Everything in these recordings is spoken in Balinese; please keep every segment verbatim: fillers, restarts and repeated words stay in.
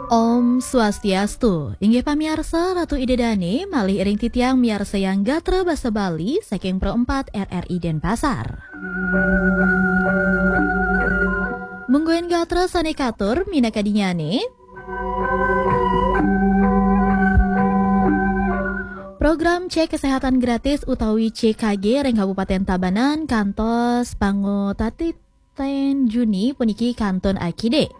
Om Swastiastu. Inggih pamiarsa, Ratu Ida Dane malih iring titiang miarsayang gatra basa Bali saking Pro empat R R I Denpasar. Mungguing gatra sane katur minakadinyane. Program cek kesehatan gratis utawi C K G ring Kabupaten Tabanan kantos pangutati ten Juni puniki kantun akidik.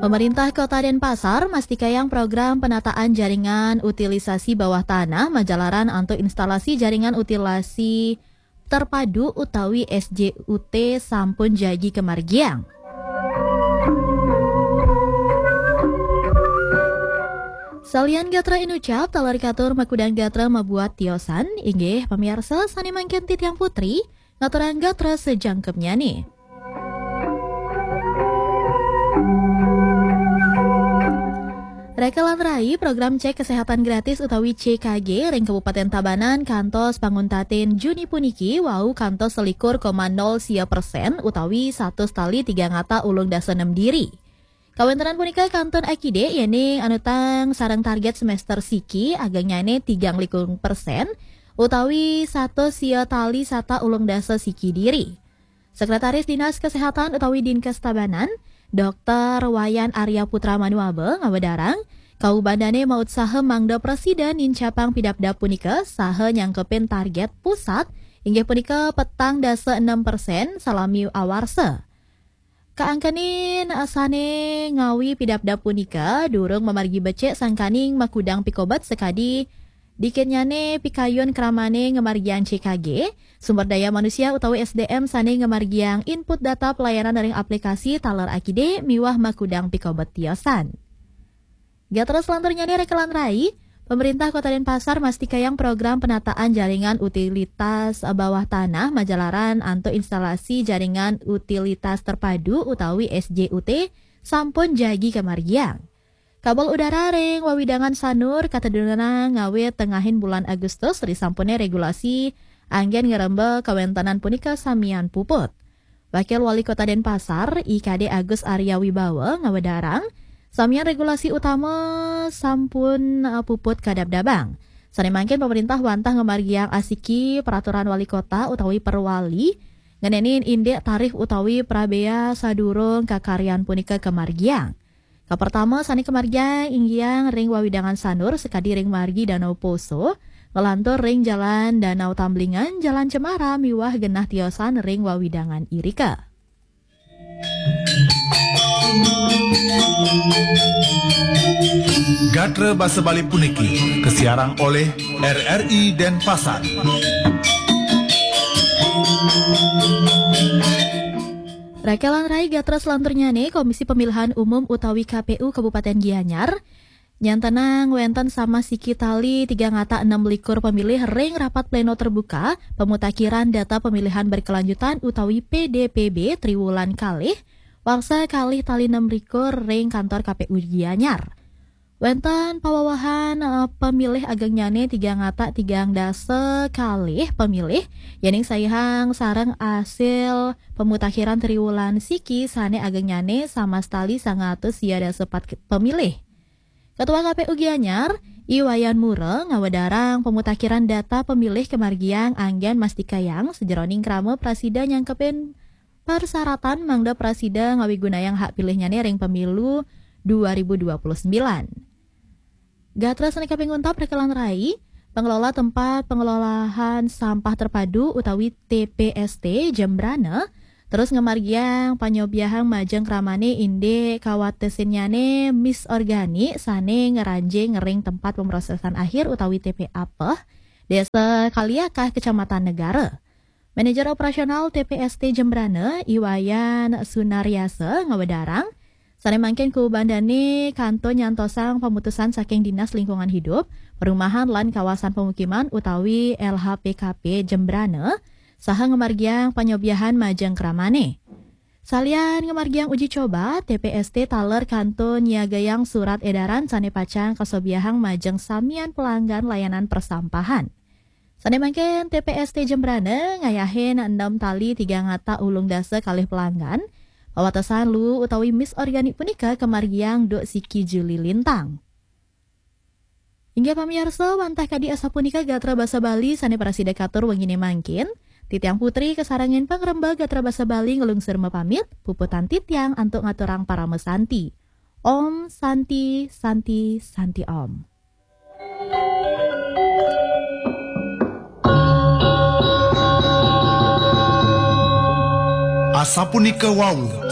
Pemerintah Kota Denpasar mastikayang program penataan jaringan utilisasi bawah tanah majalaran antuk instalasi jaringan utilisasi terpadu utawi S J U T sampun jagi kamargiang. Salian gatra inucap, taler katur makudang gatra mabuat tiosan, inggih pamiarsa sane mangkin titiang putri, ngaturang gatra sajangkepnyane. Reka lan rai, program cek kesehatan gratis utawi C K G ring Kabupaten Tabanan kantos panguntatin Juni puniki wau kantos selikur koma nol sia persen utawi satus tali tigang ata ulung dasa nem diri. Kawentenan punika kantun akidik yening anutang sareng target semester siki agengnyane tigang likur persen utawi satus sia tali sata ulung dasa siki diri. Sekretaris Dinas Kesehatan utawi Dinkes Tabanan, Dokter Wayan Arya Putra Manuaba ngawedarang, kaubandane mautsaha mangda prasida nincapang pidabdab punika saha nyangkepin target pusat inggih punika petang dasa enam persen salami awarsa. Kaangkenin sane ngawi pidabdab punika durung mamargi becik sangkaning makudang pikobet sakadi dikitnyane pikayun kramane ngamargiang C K G, sumber daya manusia utawi S D M sane ngamargiang input data pelayanan ring aplikasi taler akidik miwah makudang pikobet tiosan. Gatra selanturnyane reka lan rai, pemerintah Kota Denpasar mastikayang program penataan jaringan utilitas bawah tanah majalaran antuk instalasi jaringan utilitas terpadu utawi S J U T sampun jagi kamargiang. Kabel udara ring wewidangan Sanur katedunang ngawit tengahin bulan Agustus risampune regulasi anggen ngremba kawentenan punika samian puput. Wakil Wali Kota Denpasar, I K D Agus Arya Wibawa ngawedarang, samian regulasi utama sampun, eh, puput kadabdabang. Sane mangkin pemerintah wantah ngamargiang asiki peraturan wali kota utawi perwali ngenenin indik tarif utawi prabea sadurung kakaryan punika kamargiang. Kapertama sane kamargiang inggiang ring wewidangan Sanur sakadi ring margi Danau Poso, nglantur ring Jalan Danau Tamblingan, Jalan Cemara miwah genah tiosan ring wewidangan irika. Gatra basa Bali puniki kasiarang oleh R R I Denpasar. Reka lan rai, gatra selanturnyane, Komisi Pemilihan Umum utawi K P U Kabupaten Gianyar nyantenang wenten sama siki tali tigang ata enam likur pemilih ring rapat pleno terbuka pemutakhiran data pemilihan berkelanjutan utawi P D P B triwulan kalih, warsa kalih tali enam likur ring kantor K P U Gianyar. Wenten pawewehan, eh, pemilih agengnyane tigang ata tigang dasa kalih pemilih, yening saihang sareng asil pemutakhiran triwulan siki sane agengnyane sama setali sanga atus sia dasa pat ke-, pemilih. Ketua K P U Gianyar, I Wayan Mura, ngawedarang pemutakhiran data pemilih kamargiang anggen mastikayang sajeroning krama prasida nyangkepin persyaratan mangda prasida ngawigunayang hak pilihnyane ring pemilu dua ribu dua puluh sembilan. Gatra sane kaping untat reka lan rai, pengelola tempat pengelolaan sampah terpadu utawi T P S T Jembrana terus ngamargiang panyobiahang majeng kramane indik kawatesinnyane mis organik sane ngranjing ring tempat pemrosesan akhir utawi T P A peh, Desa Kaliakah, Kecamatan Negara. Manajer Operasional T P S T Jembrana, I Wayan Sunaryasa, ngawedarang, sane mangkin kubandane kantun nyantosang pamutusan saking Dinas Lingkungan Hidup, Perumahan lan Kawasan Pemukiman utawi L H P K P Jembrana, saha ngamargiang panyobiahan majeng kramane. Salian ngamargiang uji coba, T P S T taler kantun nyiagayang surat edaran sane pacang kasobiahang majeng samian pelanggan layanan persampahan. Sane mangkin T P S T Jembrana ngayahin enam tali tigang ata ulung dasa kalih pelanggan, Pawatesan Luwu utawi Miss Organik punika kamargiang Duk Siki Juli Lintang. Inggih pamiarsa, wantah kadi asapunika gatra basa Bali sane prasida katur wengine mangkin. Titiang Putri kasarengin pangrembag gatra basa Bali nglungsur mapamit, puputang titiang antuk ngaturang parama santi. Om Santi, Santi, Santi Om. Asapunika wau